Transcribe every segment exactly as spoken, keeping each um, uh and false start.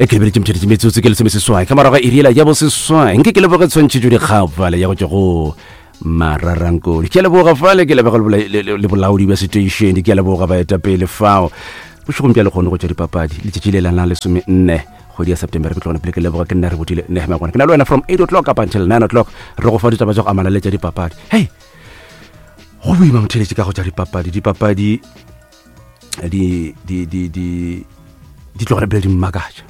E ke lebeletše motšheletše metsotso ke lesomeseswai ka morago ga iri yela ya boseswai. Nke ke leboge tshwantšhetšo dikgao fale ya go tšwa go Mararankodi. Ke a leboga fale, ke leboga le, le, le bolaodi bja seteišene, ke a leboga baetapele fao. Bošegong bja lekgono go tšwa dipapadi, letšatši le la la lesome nne kgwedi ya September. Ke tlogone pele ke leboga ke nna re botile nehema gona. Ke na le wena from eight o'clock up until nine o'clock re go fa ditaba tša go amana le tša dipapadi. Hey, go boima motheletše ka go tša dipapadi. Dipapadi di di di di di tlogele pele di mmakatša.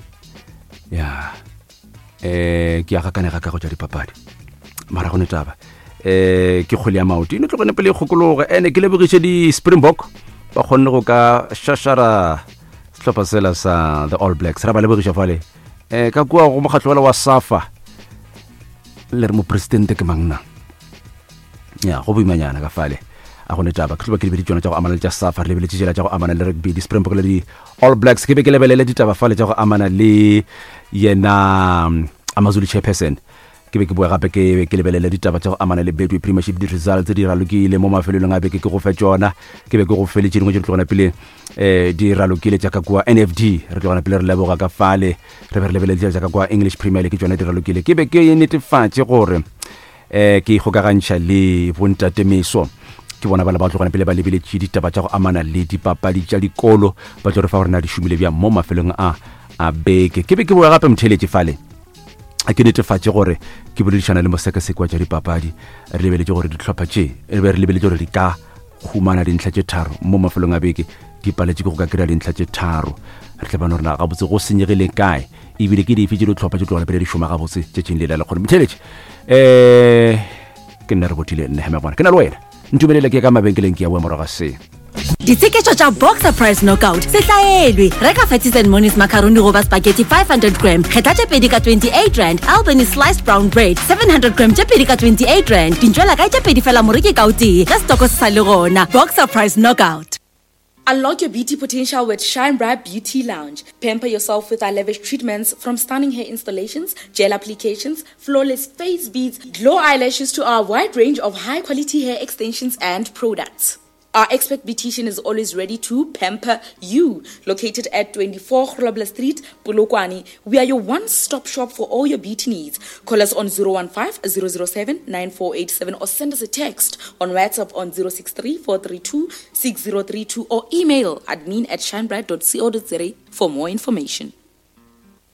Ya eh ke a gakanega ka go tša dipapadi, mara go ne taba eh ke kgwele ya maoto e no tlogene pele e kgokologe. Ene ke lebogiše di-Springbok ba kgonne go ka šašara sehlopha sela sa the All Blacks. Ra ba lebogiša fale eh ka kua go mokgatlo wela wa SAFA le re mopresidente ke mang na. Ya go boimanyana ka fale a go ne taba. Ke tlo ba ke lebedi tšona tša go amana le tša SAFA, re lebeletše tšela tša go amana le rugby, di-Springbok le di-All Blacks. Ke be ke lebelele ditaba fale tša go amana le yena Amazulu chairperson. Ke be ke boe gape ke ke lebelele ditaba tša go amana le Betway Premiership, di-results di ralokile mo mafelelong a beke, ke go fe tšona. Ke be ke go feletše dingwe tše di tlogana pele eh di ralokile tša ka kua N F D, re tlogana pele re leboga ka fale. Re be re lebelele tša ka kua English Premier League, tšona di ralokile. Ke be ke netefatše gore eh ke ikgokagantšha le bontate Meso, ke bona ba le ba tlogana pele ba lebeletše ditaba tša go amana le dipapadi tša dikolo, ba tlo re fa gore na di šomile bjang mo mafelong a a beke. Ke be ke boe gape motheletše fale a ke netefatše gore ke boledišana le mosekaseki wa tša dipapadi, re lebeletše gore dihlopha tše re be re lebeletše gore di ka humana dintlha tše tharo mo mafelong a beke, di paletše ke go ka kry-a dintlha tše tharo. Re tla bona gore na gabotse go senyegile kae, ebile ke dife tše dihlopha tše tlogela pele di šoma gabotse tšatšing le la lekgono. Motheletše um ke nna re botile nne hemegwana, ke na le wena ntumelele ke ka mabenkeleng ke ya boa morago ga se. Ditsheketšo tša Boxer Price Knockout se hlaelwe. Reka Fatties and Monies macaroni goba spaghetti five hundred gram, kgetha tše pedi ka twenty-eight rand. Albany sliced brown bread seven hundred gram tše pedi ka twenty-eight rand. Dintšwela kae tše pedi fela moreki ka o tee ge setoko se sa le gona. Boxer Price Knockout. Unlock your beauty potential with Shine Bright Beauty Lounge. Pamper yourself with our lavish treatments, from stunning hair installations, gel applications, flawless face beads, glow eyelashes to our wide range of high-quality hair extensions and products. Our expert beautician is always ready to pamper you. Located at twenty-four Grobler Street, Polokwane, we are your one-stop shop for all your beauty needs. Call us on zero one five, zero zero seven, nine four eight seven or send us a text on WhatsApp on zero six three, four three two, six zero three two or email admin at shinebright dot co dot za for more information.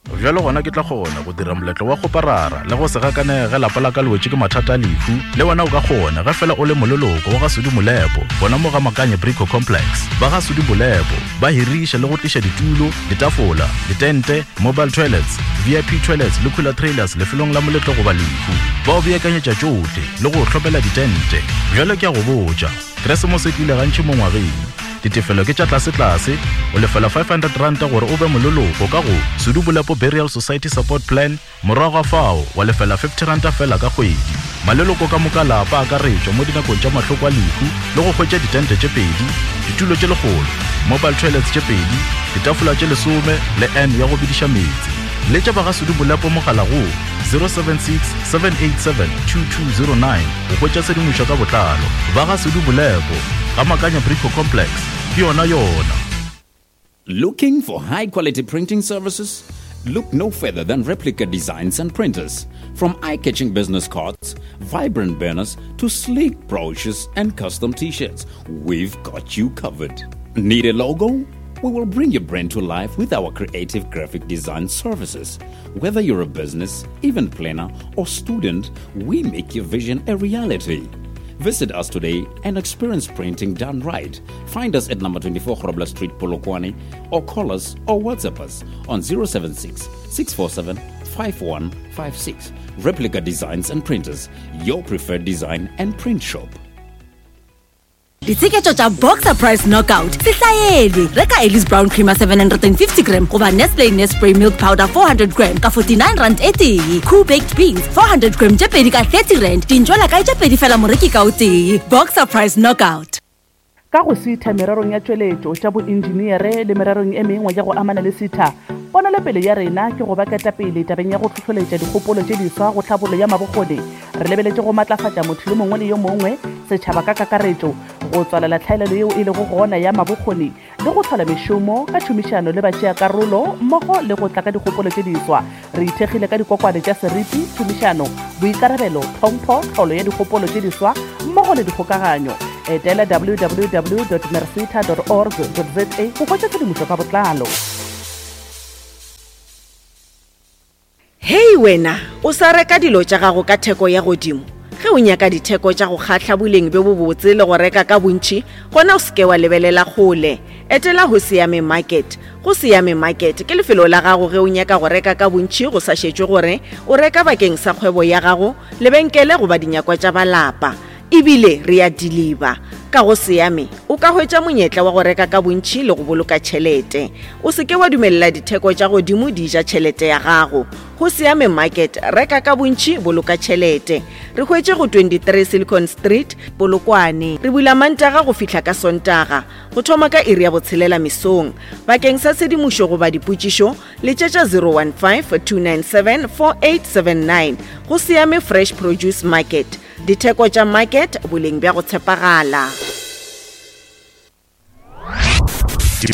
Bjalo gona ke tla kgona go dira moletlo wa go parara le go se gakanege lapa la ka le wetše ke mathata a lehu. Le wena o ka kgona ge fela o le moleloko wa ga Sudi Molepo, gona mo ga Makanye Brico Complex. Ba ga Sudi Molepo ba hiriša le go tliša ditulo, ditafola, ditente, mobile toilets, V I P toilets le cooler trailers lefelong la moletlo goba lehu. Ba o beakanyetša tšohle le go hlopela ditente. Bjalo ke a go botša, Keresemose e tlile gantši mo ngwageng. Ditefelo ke tša tlase-tlase, o lefela five hundred ranta gore o be moleloko ka go Sudi Molepo Burial Society Support Plan, morago ga fao wa lefela fifty ranta fela ka kgwedi. Maleloko ka moka lapa a akaretšwa mo dinakong tša mahloko a lehu le go hwetša ditente tše pedi, ditulo tše lekgolo, mobile toilets tše pedi, ditafola tše lesome le N ya go bediša meetse. Letša ba ga Sudi Molepo mogala go zero seven six, seven eight seven, two two zero nine go hwetša tshedimošo ka botlalo. Ba ga Sudi Molepo, ga Makanya Brico Complex, ke yona yona. Looking for high quality printing services? Look no further than Replica Designs and Printers. From eye-catching business cards, vibrant banners, to sleek brochures and custom t-shirts, we've got you covered. Need a logo? We will bring your brand to life with our creative graphic design services. Whether you're a business, event planner, or student, we make your vision a reality. Visit us today and experience printing done right. Find us at number twenty-four Grobler Street, Polokwane, or call us or WhatsApp us on zero seven six, six four seven, five one five six. Replica Designs and Printers, your preferred design and print shop. Ditsheketšo tša Boxer Price Knockout se hlaelwe. Reka Ellis Brown Creamer seven hundred and fifty gram goba Nestle Nespray Milk Powder four hundred gram ka forty-nine rand e tee. Cool Baked Beans four hundred gram tše pedi ka thirty rand. Dintšwela kae tše pedi fela moreki ka o tee. Boxer Price Knockout. Ka go sitha mererong ya tšweletšo tša boenjiniere le mererong e mengwe ya go amana le sitha, ponelopele ya rena ke go ba ketapele tabeng ya go hlohloletša dikgopolo tše diswa go tlhabollo ya mabokgoni. Re lebeletše go matlafatša motho yo mongwe le yo mongwe, setšhaba ka kakaretšo, go tswalela tlhaelelo yeo e lego gona ya mabokgoni le le go tlhola mešomo ka tšhomišano le batšeakarolo mmogo le go tla ka dikgopolo tše diswa. Re ithekgile ka dikokwane tša seriti, tšhomišano, boikarabelo, tlhompho, tlholo ya dikgopolo tše diswa mmogo le dikgokaganyo. Etela w w w dot mercita dot org dot z a go hwetša tshedimošo ka botlalo. Hei wena, o sa reka dilo tša gago ka theko ya godimo. Ge o nyaka ditheko tša go kgahla boleng bjo bobotse le go reka ka bontši, gona o seke wa lebelela kgole. Etela go Siame Market. Go Siame Market ke lefelo la gago ge o nyaka go reka ka bontši go sa šetšwe gore o reka bakeng sa kgwebo ya gago, lebenkele goba dinyakwa tša balapa. Ebile re a deliver. Ka go Siame o ka hwetša monyetla wa go reka ka bontši le go boloka tšhelete. O seke wa dumelela ditheko tša godimo di ja tšhelete ya gago. Go Siame Market, reka ka bontši, boloka tšhelete. Re hwetše go twenty-three Silicon Street, Polokwane. Re bula Mantaga go fihla ka Sontaga, go thoma ka iri ya botshelela mesong. Bakeng sa tshedimošo goba dipotšišo, letšetša zero one five, two nine seven, four eight seven nine. Go Siame Fresh Produce Market. Ditheko tša market, boleng bja go tshepagala.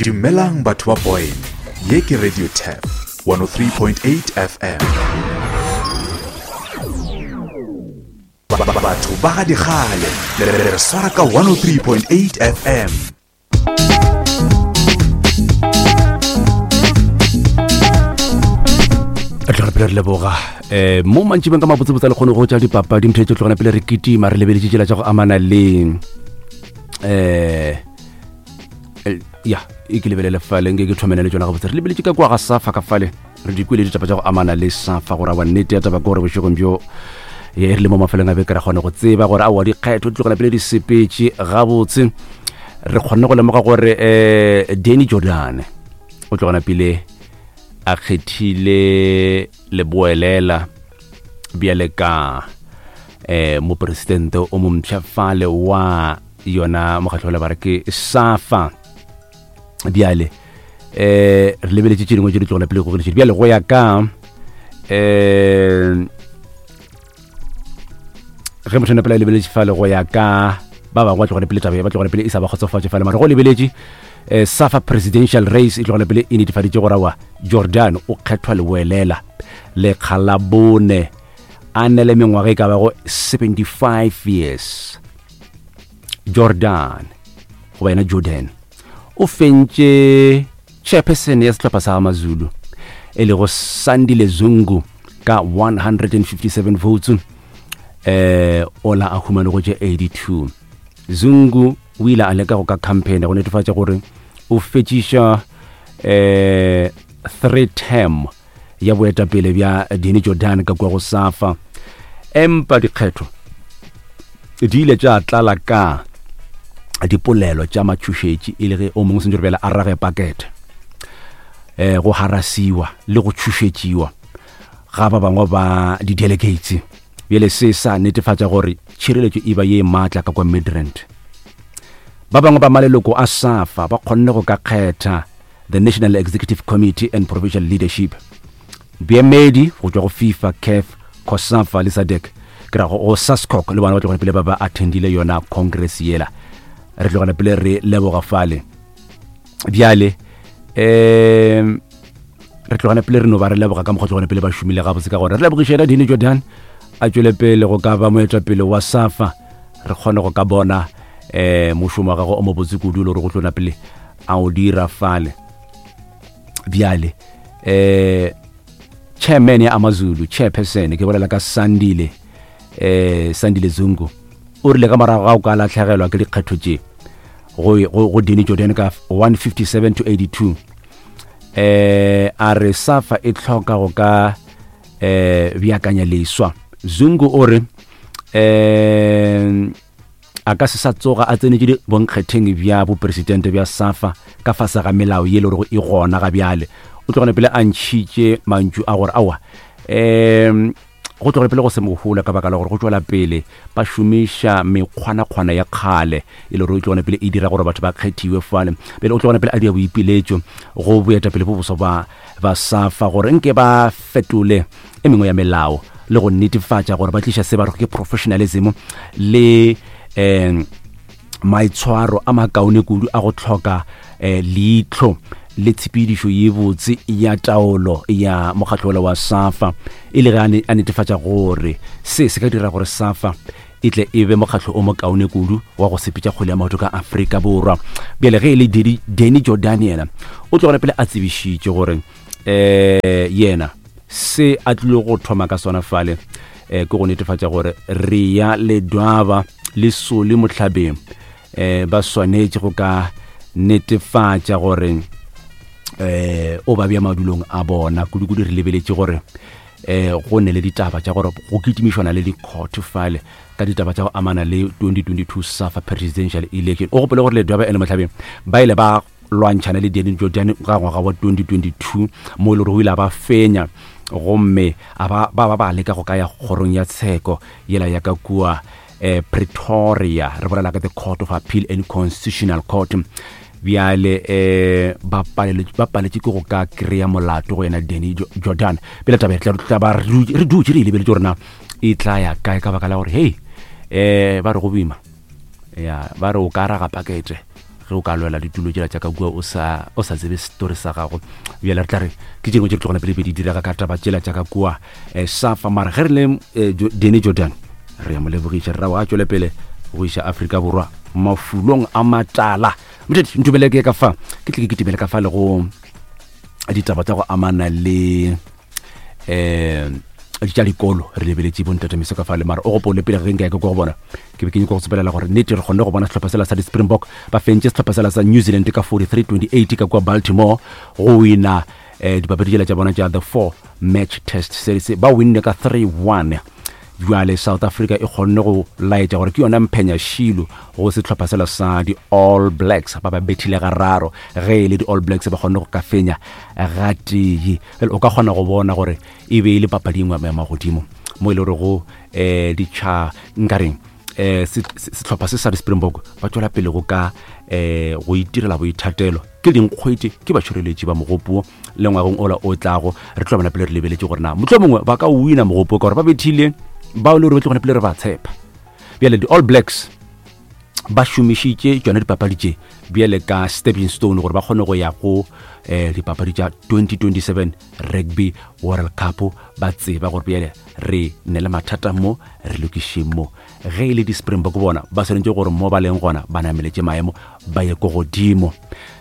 Dumelang batho ba Boyne. Ye ke Radio Tap one oh three point eight F M. Batho ba ga dikgale le re swara ka one oh three point eight F M. Re tla re pele re leboga eh mo mantšibeng ka mabotsebotse le kgone go tša dipapadi motho tše tlogana pele re kitima re lebeletše tšela tša go amana le eh ya e ke lebelele fale nke ke thomene le tšona gabotse. Re lebeletše ka kwa ga Safa ka fale, re di kwele ditaba tša go amana le Safa gore awa nnete ya taba ke gore bošegong bjo ye e re le mo mafelong a beke re kgone go tseba gore aowa dikgetho di tlogela pele di sepetše gabotse. Re kgonne go lemoga gore eh Danny Jordan o tlogana pele a kgethile leboelela bjale ka eh mopresidente o mompsha fale wa yona mokgatlo la bare ke Safa. Bjale eh re lebeletše tše dingwe tše di tlogela pele go bjale go ya ka eh ge motho pele a lebeletše fale go ya ka ba bangwe ba tlogela pele taba ba tlogela pele e sa ba kgotsofatše fale, mara go lebeletše eh Safa presidential race e tlogela pele e netefaditše gore wa Jordan o kgethwa leboelela lekga la bone a nele mengwaga e ka bago seventy-five years. Jordan goba yena Jordan o fentše chairperson ya sehlopha sa Amazulu e lego Sandile Zungu ka one hundred fifty-seven votes, eh ola a humane go tše eighty-two. Zungu o ile a leka go ka campaign go netefatša gore o fetšiša eh three term ya boetapele bja Danny Jordan ka kwa go Safa, empa dikgetho di ile tša tlala ka dipolelo tša matšhošetši e le ge o mongwe sentse re bjale a rage pakete eh go harasiwa le go tšhošetšiwa ga ba bangwe ba di-delegates. Bjale se sa netefatša gore tšhireletšo e ba ye maatla ka kwa Midrand. Ba bangwe ba maleloko a Safa ba kgonne go ka kgetha the National Executive Committee and Provincial Leadership, boemedi go tšwa go FIFA, C A F, COSAFA le SADC, ke ra go SASCOC le bona ba tlogela pele ba ba attendile yona congress yela. Re tlogela pele re leboga fale. Bjale um re tlogela pele re no ba re leboga ka mokgwa tlogela pele ba šomile gabotse ka gore re lebogiše yena Danny Jordan a tšwele pele go ka ba moetapele wa Safa, re kgone go ka bona eh mošomo wa gagwe o mobotse kudu le gore go tlona pele a o dira fale. Bjale eh chairman ya Amazulu, chairperson ke bolela ka Sandile eh Sandile Zungu, o rile ka morago ga o ka latlhegelwa ke dikgetho tše go go Danny Jordan ka one fifty-seven to eighty-two, eh a re Safa e tlhoka go ka eh beakanya leswa. Zungu o re eh a ka se sa tsoga a tsenetše bonkgetheng bja bopresidente bja Safa ka fase ga melao ye le gore e gona ga bjale. O tlogela pele a ntšhitše mantšu a gore aowa um go tlogela pele go se mohola ka baka la gore go tšwela pele ba šomiša mekgwanakgwana ya kgale e le gore e tlogela pele e dira gore batho ba kgethiwe fale. Pele o tlogela pele a dia boipiletšo go boetapele bo boso ba ba Safa gore nke ba fetole e mengwe ya melao le go netefatša gore ba tliša se ba re ke professionalism le um maitshwaro a makaone kudu a go tlhoka eh, leihlo le tshepedišo ye botse ya taolo ya mokgatlo wa SAFA, e le ge a netefatša gore se se ka dira gore SAFA e tle e be mokgatlo o mokaone kudu wa go sepetša kgwele ya maoto ka Afrika Borwa. Bjale ge e le Danny Jordan yena o tlogela pele a tsebišitše gore eh yena se a tlile go thoma ka sona fale eh ke go netefatša gore re ya Ledwaba le Sole Mohlabeng eh ba swanetše go ka netefatša gore eh o ba bja madulong a bona kudu-kudu. Re lebeletše gore eh go ne le ditaba tša gore go kitimišwana le di-court fale ka ditaba tša go amana le twenty twenty-two SAFA presidential election. O gopole gore Ledwaba ene Mohlabeng ba ile ba lwantšhana le Danny Jordan ka ngwaga wa twenty twenty-two mo e le gore o ile a ba fenya, gomme a ba ba ba leka go ka ya kgorong ya tsheko yela ya ka kua eh Pretoria, re bolela ka the Court of Appeal and Constitutional Court. Bjale eh ba paleletse ba paletse ke go ka kry-a molato go yena Danny Jordan. Pele taba e tla ba re dutše re e lebeletse gore na e tla ya kae, ka baka la gore hei eh ba re go boima ya ba re o ka raga pakete ge o ka lwela ditulo tšela tša ka kua o sa o sa tsebe story sa gago. Bjale re tla re ke tše dingwe tše di tlogona pele di direga ka taba tšela tša ka kua eh SAFA. Mara ge re le Danny Jordan re ya mo lebogiša, re ra a tšwele pele go iša Afrika Borwa mafulong a matala. Motšhedi ntumele ke ka fa ke tle ke kitimele ka fa le go ditaba tša go amana le eh tša dikolo. Re lebeletše bontate Meso ka fa le, mara o gopole pele ge nka ya ka go bona ke be ke nyaka go tsepelela gore nnete re kgonne go bona sehlopha sela sa di-Springbok ba fentše sehlopha sela sa New Zealand ka forty-three twenty-eight ka kua Baltimore go wina eh dipapadi tšela tša bona tša the four match test series, ba winne ka three one. Jwale South Africa e kgonne go laetša gore ke yona mphenya šilo go sehlopha sela sa di-All Blacks, ba ba bethile gararo ge e le di-All Blacks ba kgonne go ka fenya gatee. O ka kgona go bona gore e be e le papadi engwe ya magodimo mo e le gore go um ditšha nkareng eh sehlopha se sa di-Springbok ba tšwela pele go ka eh go itirela boithatelo ke dinkgwete ke batšhireletši ba mogopo le ngwageng ola o tlago. Re tlo bona pele re lebeletše gore na mohlomongwe mongwe ba ka wina mogopo ka gore ba bethile bao le gore ba tlo gona pele re ba tshepa. Bjale di-All Blacks ba šomišitše tšona dipapadi tše bjale ka stepping stone gore ba kgone go ya go eh dipapadi tša twenty twenty-seven Rugby World Cup, ba tseba gore bjale re ne le mathata mo re lokišeng mo. Ge e le di-Springbok bona ba swanetše gore mo ba leng gona ba nameletše maemo ba ye ko godimo.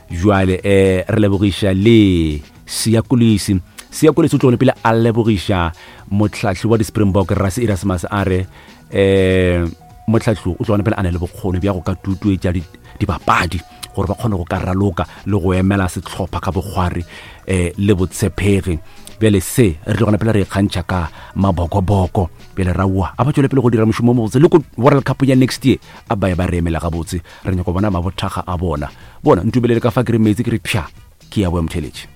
Jwale eh re lebogiša le Siya Kolisi. Siya Kolisi o tlogone pele a lebogiša mohlahli wa di-Springbok Rassie Erasmus, a re eh mohlahli o tlogone pele a na le bokgoni bja go ka tutuetša dibapadi gore ba kgone go ka raloka le go emela sehlopha ka bokgwari eh le botshepegi. Bjale se re tlogona pele re ikgantšha ka mabokoboko. Bjale raua a ba tšwele pele go dira mošomo o mobotse le ko World Cup ya next year a ba ye ba re emela gabotse. Re nyaka go bona mabothaga a bona. Bona ntumelele ka fa ke re metsi ke re pša ke ya boya motheletše.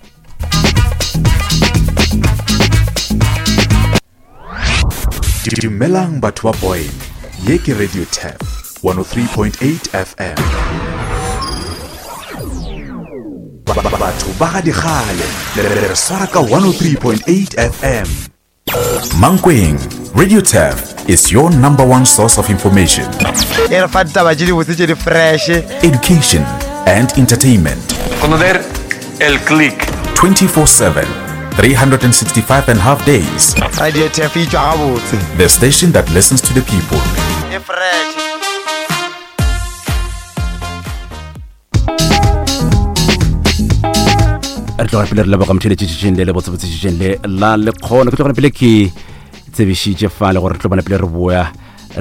Dumelang batho ba Boyne, ye ke Radio Tap one oh three point eight F M. Batho ba ga dikgale le re swara ka one oh three point eight F M. Mankweng, Radio Tap is your number one source of information, education and entertainment. Conocer el click. twenty-four seven, three hundred sixty-five and a half days. Radio Tap e tšwa gabotse. The station that listens to the people. E fresh. Re tloga pele re leboga motheletšetšeng le le botsebotsetšeng le la lekgono. Ke tlogana pele ke tsebišitše fale gore re tlo bona pele re boya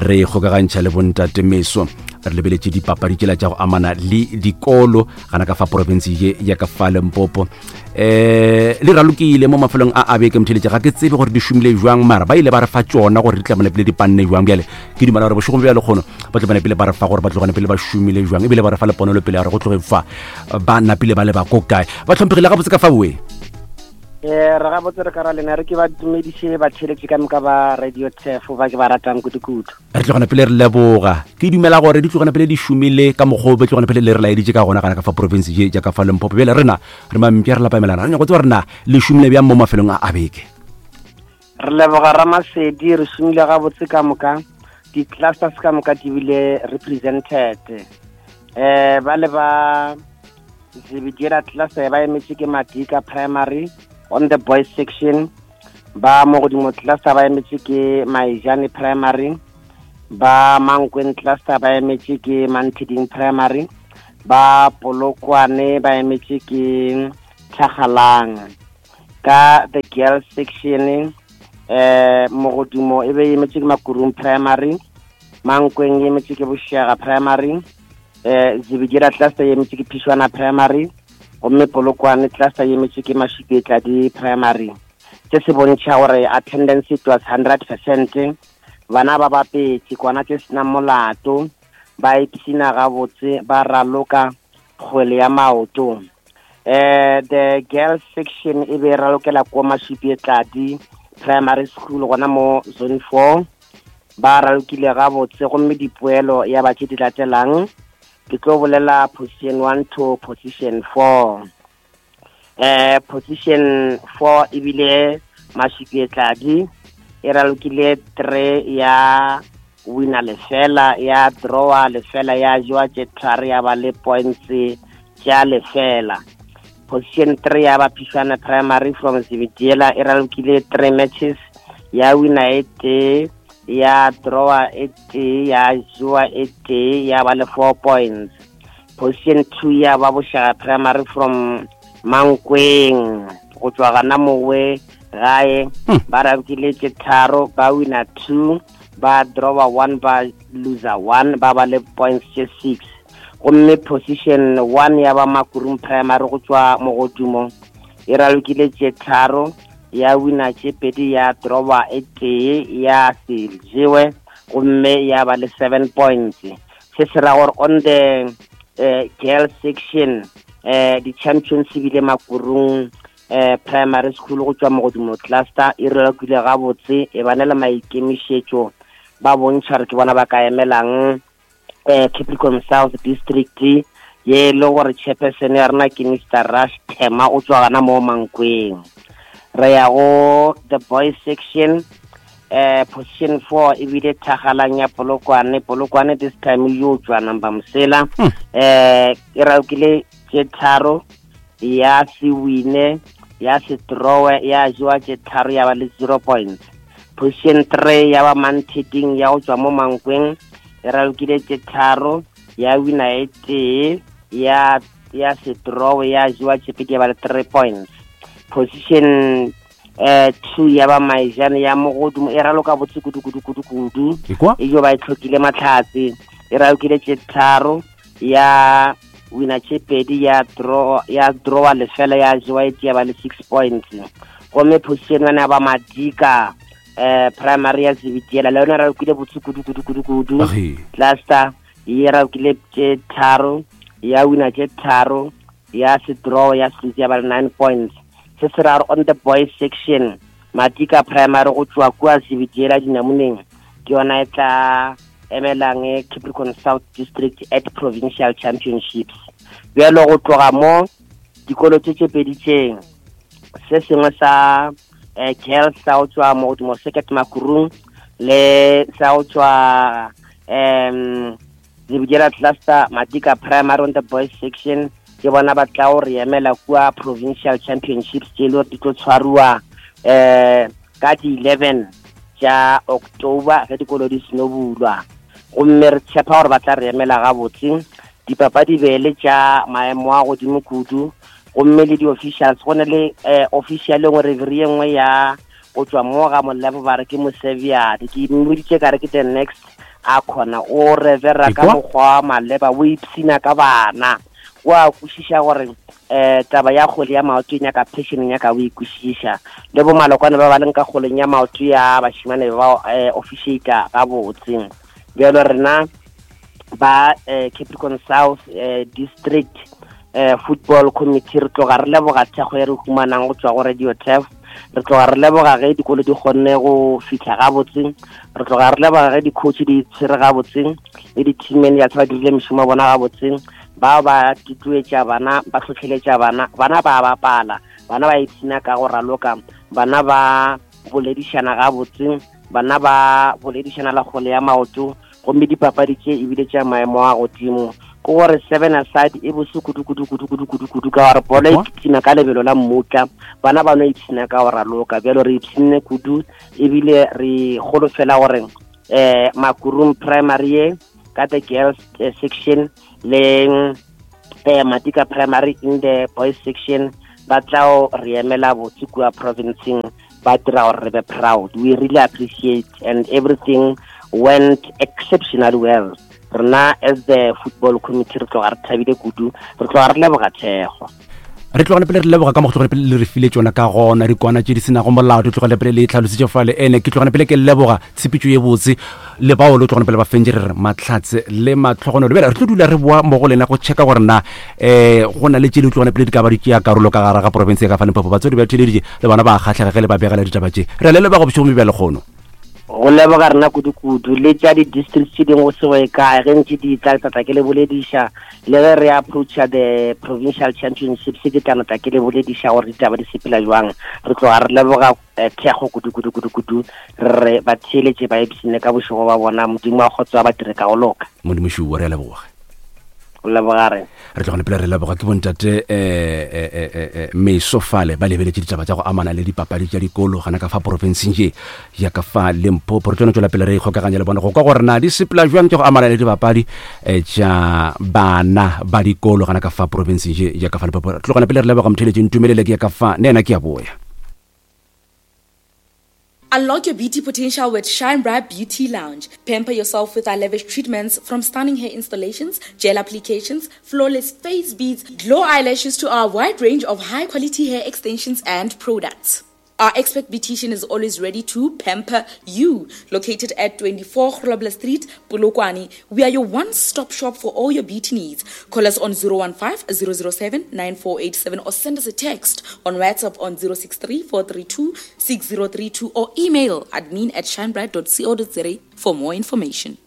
re kgokagantšha le bontate Meso. Re lebeletše dipapadi tšela tša go amana le dikolo gana ka fa province ye ya ka fa Limpopo. Eh le ralokile mo mafelong a a beke motheletše, ga ke tsebe gore di šomile jwang, mara ba ile ba re fa tšona gore di tla bona pele di panne jwang. Bjale ke dumela gore bošegong bja lekgono ba tlo bona pele ba re fa gore ba tlogane pele ba šomile jwang, ebile ba re fa le ponelo pele ya gore go tloge fa ba napile ba le ba ko kae. Ba tlhomphegile gabotse ka fa boe. Eh re gabotse re ka ra lena re ke ba dumediše ba theletše ka moka ba Radio Tef ba ke ba ratang kudu-kudu. Re tlogana pele re leboga. Ke dumela gore di tlogana pele di šomile ka mokgwa o be tlogana pele le re laeditše ka gona gana ka fa province ye ja ka fa Limpopo. Bjale rena re mampša re lapamelana, re nyaka go tseba gore na le šomile bjang mo mafelong a a beke. Re leboga Ramasedi, re šomile gabotse ka moka, di-clusters ka moka di bile represented. Eh ba le ba Zebediela cluster ba emetše ke Madika Primary on the boys section. Ba Mogodimo cluster ba emetše ke Maijane Primary. Ba Mankweng cluster ba emetše ke Mantiding Primary. Ba Polokwane ba emetše ke Tlhagalang. Ka the girls section eh Mogodimo e be emetše ke Makurung Primary, Mankweng e emetše ke Boshega Primary, eh Zebediela cluster e emetše ke Phishwana Primary, gomme Polokwane cluster e emetše ke Mashipetladi Primary. Se se bontšha gore attendance it was hundred percent. Bana ba bapetše kwana tše senang molato, ba ipshina gabotse, ba raloka kgwele ya maoto. Eh the girls section e be ralokela ko Mashipetladi Primary School gona mo zone four. Ba ralokile gabotse gomme dipoelo ya ba tše di latelang ke tlo bolela position one to position four. Eh position four ebile Mashipetladi e ralokile three ya wina lefela, ya drawa lefela, ya jewa tše tharo, ya ba le points tša lefela. Position three ya ba Phishwana Primary from Zebediela e ralokile three matches, ya wina e tee, ya drawa e tee, ya jewa e tee, ya ba le four points. Position two ya ba Boshega Primary from Mankweng go tšwa gana mowe gae, ba ralokile tše tharo, ba wina two, ba drawa one, ba loser one, ba ba le points tše six. Gomme position one ya ba Makurung Primary go tšwa Mogodimo e ralokile tše tharo, ya wina tše pedi, ya drawa e tee, ya se jewe, gomme ya ba le seven points. Se se ra gore on the eh, girls section eh di-champions ebile Makurung eh Primary School go tšwa Mogodimo cluster e ralokile gabotse, e ba na le maikemišetšo, ba bontšha re ke bona ba ka emelang eh Capricorn South District, ye le gore chairperson ya rena ke Mister Rush Thema o tšwa gana mo Mankweng. Re ya go the boys section, eh position four ebile Thagalang ya Polokwane. Polokwane this time yo tšwa number Mosela, eh e ralokile tše tharo, ya se wine, ya se drawe, ya jewa tše tharo, ya ba le zero points. Position three ya ba Mantiding ya go tšwa mo Mankweng e ralokile tše tharo, ya wina e tee, ya ya se drawe, ya jewa tše pedi, ya ba le three points. Position eh two ya ba Maijane ya Mogodimo e raloka botse kudu kudu kudu kudu, e jo ba e tlhokile matlhatse, e ralokile tše tharo, ya wina tše pedi, ya draw, ya drawa lefela, ya jewa e tee, ya ba le six points. Gomme position one ya ba Madika eh Primary ya Zebediela le yona ralokile botse kudu kudu kudu kudu. Cluster ye ralokile tše tharo, ya wina tše tharo, ya se draw, ya se ya ba le nine points. Se se ra on the boys section Madika Primary go tšwa kua Zebediela dinamoneng ke yona e tla emelang Capricorn South District at Provincial Championships. Bjalo go tloga mo dikolo tše tše pedi tšeng, se sengwe sa eh girls sa go tšwa Mogodimo Circuit Makurung le sa go tšwa um Zebediela cluster Madika Primary on the boys section ke bona ba tla go re emela kua Provincial Championships tše le gore di tlo tshwariwa eh ka di eleven tša October ge dikolo di seno bulwa. Gomme re tshepa gore ba tla re emela gabotse. Dipapadi be le tša maemo a godimo kudu, gomme le di-officials go ne le eh, official e nngwe referee e nngwe ya go tšwa mo ga Molepo ba re ke Mosebiadi, ke mmoditše ka re ke the next a kgona o revera ka mokgwa wa maleba, o ipshina ka bana, o a kwešiša gore eh taba ya kgwele ya maoto e nyaka passion, e nyaka o e kwešiša. Le bo malokwane ba ba leng ka kgweleng ya maoto ya bashimane ba eh, officiata gabotse. Bjalo rena ba eh, Capricorn South eh, District eh, Football Committee re tloga re leboga thekgo e re humanang go tšwa go Radio Turf, re tloga re leboga ge dikolo di kgonne go fihla gabotse, re tloga re leboga ge di-coach di tshwere gabotse le di-team managers ba dirile mešomo ya bona gabotse, ba ba tutuetša bana, ba hlohleletša bana, bana ba bapala, bana ba ipshina ka go raloka, bana ba boledišana gabotse, bana ba boledišana la kgwele ya maoto, gomme dipapadi tše ebile tša maemo a godimo. Ke gore seven aside e bose kudu kudu kudu kudu kudu kudu ka gore bolo e kitima ka lebelo la mmutla, bana ba no ipshina ka go raloka. Bjalo re ipshinne kudu, ebile re golofela gore eh Makurum Primary ye ka the girls eh, section le eh Matika Primary in the boys section ba tla re emela botse kua provinceng, ba dira gore re be proud. We really appreciate and everything went exceptionally well. Rena as the football committee re tloga re thabile kudu, re tloga re leboga thekgo. Re tlogane pele re leboga ka mo go tlogane pele le re file tšona ka gona dikwana tše di senago molao, di tlogane pele le tlhalositše fale. Ene ke tlogane pele ke leboga tshepetšo ye botse le bao le tlogane pele ba fentše, re re mahlatse le matlhogonolo. Bjale re tlo dula re boa mo go lena go checka gore na um go na le tše le tlogane pele di ka ba di tšea karolo ka gare ga porofense ya ka fa Limpopo. Batswadi ba theleditše le bona ba kgatlhega ge le ba begela ditaba tše. Re a le leboga bošego bja lekgono. Go leboga rena kudu-kudu le tša di-districts tše dingwe go se go ye kae, ge ntše di tla tla ke le bolediša, le ge re approacha the provincial championships ke tla tla ke le bolediša gore ditaba di sepela jwang. Re tloga re leboga thekgo kudu kudu kudu kudu, re re ba theeletše ba ipshine ka bošego ba bona. Modimo wa kgotso ba dire ka go loka. Modimo šuo, re a leboga. Go leboga re. Re tlogane pele re leboga ke bontate eh meso fale ba lebeletše ditaba tša go amana le dipapadi tša dikolo gana ka fa porofenseng ye ya ka fa Limpopo. Re tlo no tšwela pele re ikgokaganya le bona go kwa gore na di sepela jwang tša go amana le dipapadi tša bana ba dikolo gana ka fa porofenseng ye ya ka fa Limpopo. Re tlogane pele re leboga motheletši Ntumelele ke ya ka fa ne ena ke ya boya. Unlock your beauty potential with Shine Bright Beauty Lounge. Pamper yourself with our lavish treatments, from stunning hair installations, gel applications, flawless face beads, glow eyelashes to our wide range of high-quality hair extensions and products. Our expert beautician is always ready to pamper you. Located at twenty-four Grobler Street, Polokwane, we are your one-stop shop for all your beauty needs. Call us on zero one five, zero zero seven, nine four eight seven or send us a text on WhatsApp on zero six three, four three two, six zero three two or email admin at shinebright dot co dot za for more information.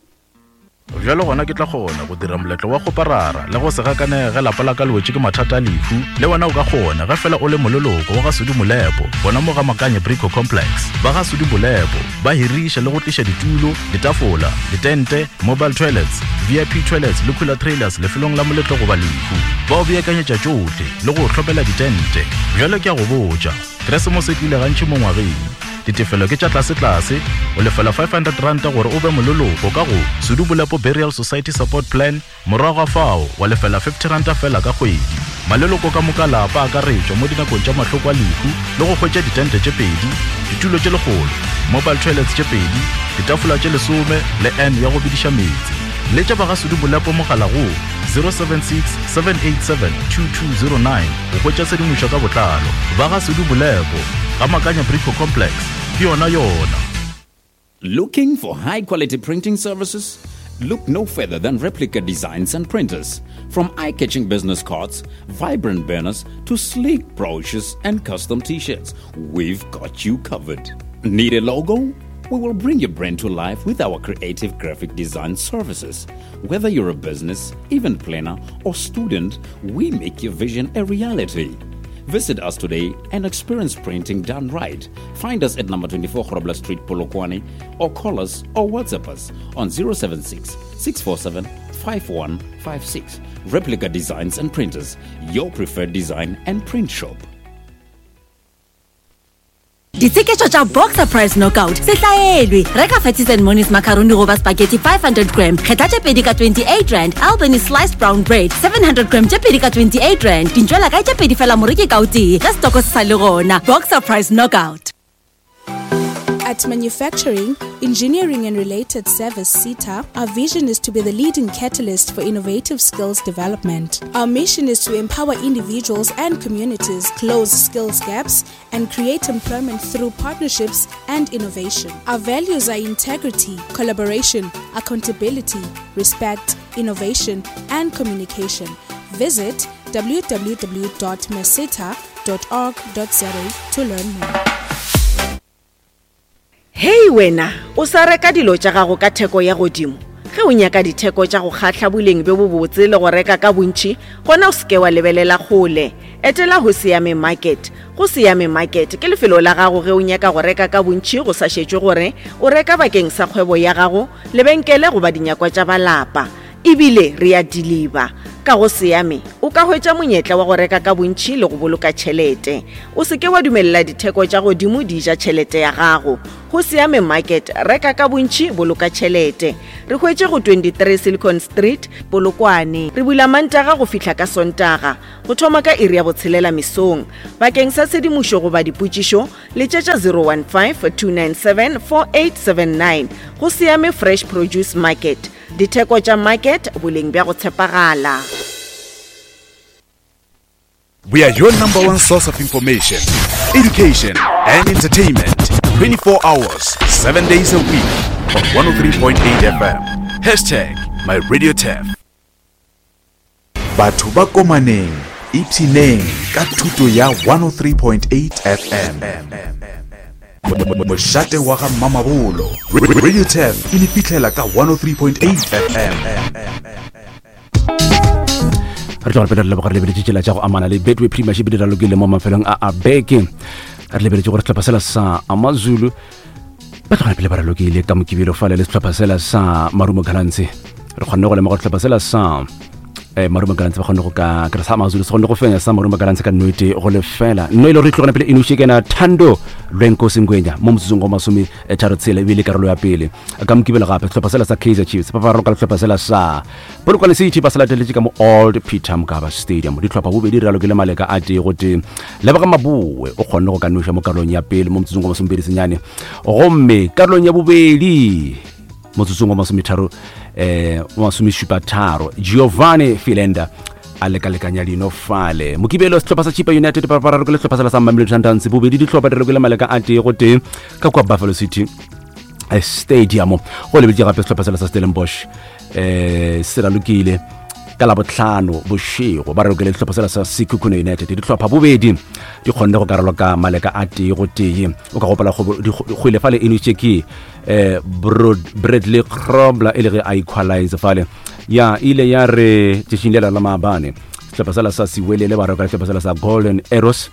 Bjalo gona ke tla kgona go dira moletlo wa go parara le go se gakanege lapa la ka le wetše ke mathata a lehu. Le wena o ka kgona ge fela o le moleloko wa ga Sudi Molepo, bona mo ga Makanye Brico Complex. Ba ga Sudi Molepo ba hiriša le go tliša ditulo, ditafola, ditente, mobile toilets, V I P toilets le cooler trailers lefelong la moletlo goba lehu. Ba o beakanyetša tšohle le go hlopela ditente. Bjalo ke a go botša, Keresemose e tlile gantši mo ngwageng. Ditefelo ke tša tlase-tlase, o lefela five hundred rand gore o be moleloko ka go Sudi Molepo Burial Society Support Plan, morago ga fao wa lefela fifty rand fela ka kgwedi. Maleloko ka moka lapa akaretšwa mo dinakong tša mahloko a lehu le go hwetša ditente tše pedi, ditulo tše lekgolo, mobile toilets tše pedi, ditafola tše lesome le N ya go bidiša meetse. Letša ba ga Sudi Molepo mogala go zero seven six, seven eight seven, two two zero nine go hwetša tshedimošo ka botlalo. Ba ga Sudi Molepo ga Makanya Brico Complex, ke yona yona. Looking for high quality printing services? Look no further than Replica Designs and Printers. From eye-catching business cards, vibrant banners, to sleek brochures and custom t-shirts, we've got you covered. Need a logo? We will bring your brand to life with our creative graphic design services. Whether you're a business, event planner, or student, we make your vision a reality. Visit us today and experience printing done right. Find us at number twenty-four Grobler Street, Polokwane, or call us or WhatsApp us on zero seven six, six four seven, five one five six. Replica Designs and Printers, your preferred design and print shop. Ditsheketšo tša Boxer Price Knockout se hlaelwe. Reka Fatties and Monies macaroni goba spaghetti five hundred gram, kgetha tše pedi ka twenty-eight rand. Albany sliced brown bread seven hundred gram tše pedi ka twenty-eight rand. Dintšwela kae tše pedi fela moreki ka o tee, ge setoko se sa le gona. Boxer Price Knockout. At Manufacturing, Engineering and Related Service, SETA, our vision is to be the leading catalyst for innovative skills development. Our mission is to empower individuals and communities, close skills gaps, and create employment through partnerships and innovation. Our values are integrity, collaboration, accountability, respect, innovation, and communication. Visit w w w dot meseta dot org dot z a to learn more. Hei wena, o sa reka dilo tša gago ka theko ya godimo. Ge o nyaka ditheko tša go kgahla boleng bjo bobotse le go reka ka bontši, gona o seke wa lebelela kgole. Etela go Siame Market. Go Siame Market ke lefelo la gago ge o nyaka go reka ka bontši go sa šetšwe gore o reka bakeng sa kgwebo ya gago, lebenkele goba dinyakwa tša balapa. Ebile re a deliver. Ka go Siame o ka hwetša monyetla wa go reka ka bontši le go boloka tšhelete. O se ke wa dumelela ditheko tša godimo di ja tšhelete ya gago. Go Siame Market, reka ka bontši, boloka tšhelete. Re hwetše go twenty-three Silicon Street, Polokwane. Re bula Mantaga go fihla ka Sontaga, go thoma ka iri ya botshelela mesong. Bakeng sa tshedimošo goba dipotšišo, letšetša zero one five, two nine seven, four eight seven nine. Go Siame Fresh Produce Market. Ditheko tša market, boleng bja go tshepagala. We are your number one source of information, education and entertainment. twenty-four hours, seven days a week on one oh three point eight F M. Hashtag my radio T F. Batho ba komaneng, ipshineng ka thuto ya one oh three point eight F M. Mošate wa ga Mamabolo. Radio T F e le fihlela ka one oh three point eight F M. Re tloga pele re leboga re lebeletše tsela tša go amana le Betway Premiership di ralokile mo mafelong a a beke. Re lebeletše gore sehlopha sela sa Amazulu ba tlogela pele ba ralokile ka Mokibelo fale le sehlopha sela sa Marumo Gallants. Re kgonne go lemoga gore sehlopha sela sa eh Marumo Gallants ba kgonne go ka kry sa Amazulu se kgonne go fenya sa Marumo Gallants ka nnete go lefela. Nno e le gore e tlogela pele e noše kena Thando Lwenkosi Ngwenya mo motsotsong go masome tharo tshela ebile karolo ya pele. Ka Mokibelo gape sehlopha sela sa Kaizer Chiefs ba ba raloka le sehlopha sela sa Polokwane City ba se lateletše ka mo Old Peter Mokaba Stadium. Dihlopha bobedi di ralokile maleka a tee go tee. Leboga Maboe o kgonne go ka noša mo karolong ya pele mo motsotsong go masomepedi senyane, gomme karolong ya bobedi motsotsong wa masometharo eh masomešupa tharo Giovanni Philander a lekalekanya dino fale. Mokibelo sehlopha sa Chippa United ba ba ralokile sehlopha sela sa Mamelodi Sundowns bobedi dihlopha di ralokile maleka a tee go tee ka kua Buffalo City Stadium. Go lebetše gape sehlopha sela sa Stellenbosch eh se ralokile ka Labohlano bošego ba ralokile sehlopha sela sa Sekhukhune United. Dihlopha bobedi di kgonne go ka raloka maleka a tee go tee. O ka gopola kgwele fale e nošitše ke eh Bradley Grobler e le ge a equalize fale. Ya ile ya re tšatšing lela la maabane sehlopha sela sa Siwelele ba raloka sehlopha sela sa Golden Arrows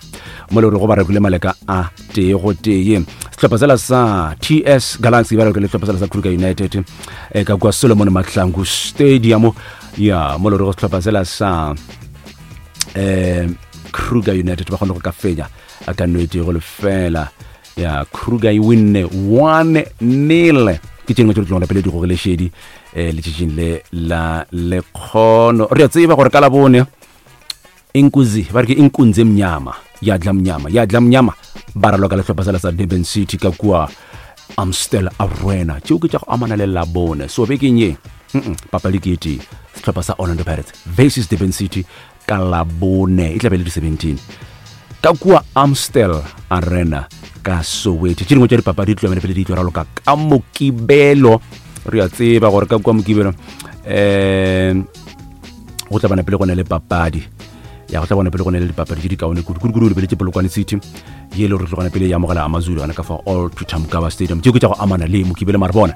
mo le gore go ba ralokile maleka a tee go tee. Sehlopha sela sa T S Galaxy ba ralokile sehlopha sela sa Kruger United eh ka kua Solomon Mahlangu Stadium. Ya mo le gore sehlopha sela sa eh Kruger United ba kgone go ka fenya a ka no e go lefela. Ya Kruger e winne one nil. Ke tše dingwe tše di tlogela pele di gogile šedi eh letšatšing le la lekgono. Re a tseba gore ka Labone Inkuzi ba re ke Inkunzi Mnyama ya dla Mnyama ya dla Mnyama ba raloka le sehlopha sela sa Durban City ka kua Amstel Arena. Tšeo ke tša go amana le Labone. So bekeng ye papadi ke e tee, sehlopha sa Orlando Pirates versus Durban City ka Labone e tla be le di seventeen ka kua Amstel Arena ka Soweto. Tše dingwe tša dipapadi di tloga pele di tlo raloka ka Mokibelo. Re a tseba gore ka kua Mokibelo um go tla bana pele go na le papadi ya go tla bona pele go na le dipapadi tše di kaone kudu kudu kudu. Lebeletše Polokwane City ye le gore tlogana pele ya amogela Amazulu gona ka fa Old Peter Mokaba Stadium. Tšeo ke tša go amana le Mokibelo. Mare bona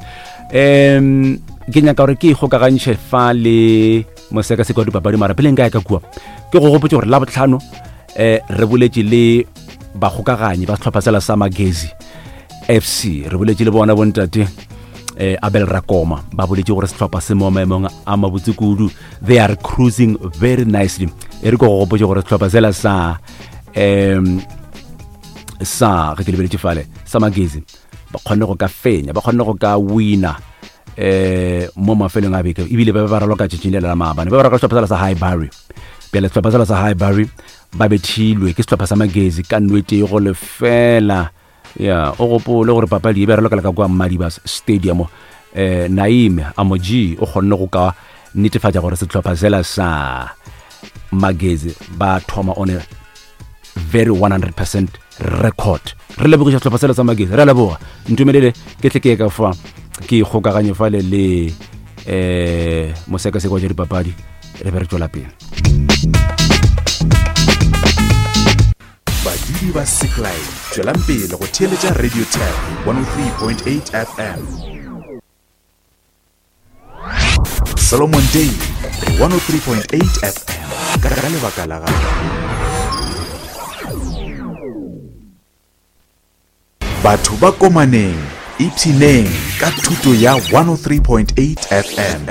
um ke nyaka gore ke ikgokagantšhe fa le mosekaseko wa dipapadi, mara pele nka ya ka kua ke go gopotse gore Labohlano eh re boletše le bakgokaganyi ba sehlopha sela sa Magezi F C. Re boletše le bona bontate eh Abel Rakoma, ba boletše gore sehlopha se mo maemong a mabotse kudu, they are cruising very nicely. E re ko go gopotse gore sehlopha sela sa um sa ge ke lebeletše fale sa Magezi ba kgonne go ka fenya, ba kgonne go ka wina eh mo mafelong a beke, ebile ba be ba raloka tšatšing le la maabane ba ba raloka sehlopha sela sa Highbury. Bjale sehlopha sela sa Highbury ba bethilwe ke sehlopha sa Magezi ka nno e tee go lefela. Ya o gopole gore papadi e be ralokela ka kua Madibas Stadium. Eh Naime Amoji o kgonne go ka netefatša gore sehlopha sela sa Magezi ba thoma on a very one hundred percent record. Re lebogiša sehlopha sela sa Magezi, re a leboga. Ntumelele ke tle ke ye ka fa ke ikgokaganye fale le eh mosekaseko wa tša dipapadi re be re tšwela pele. Badudi ba Seklai, tšwelang pele go theeletša Radio Tap one oh three point eight F M. Solomon Day one oh three point eight F M ka lebaka la gago. Batho ba komaneng, ipshineng ka thuto ya one oh three point eight F M.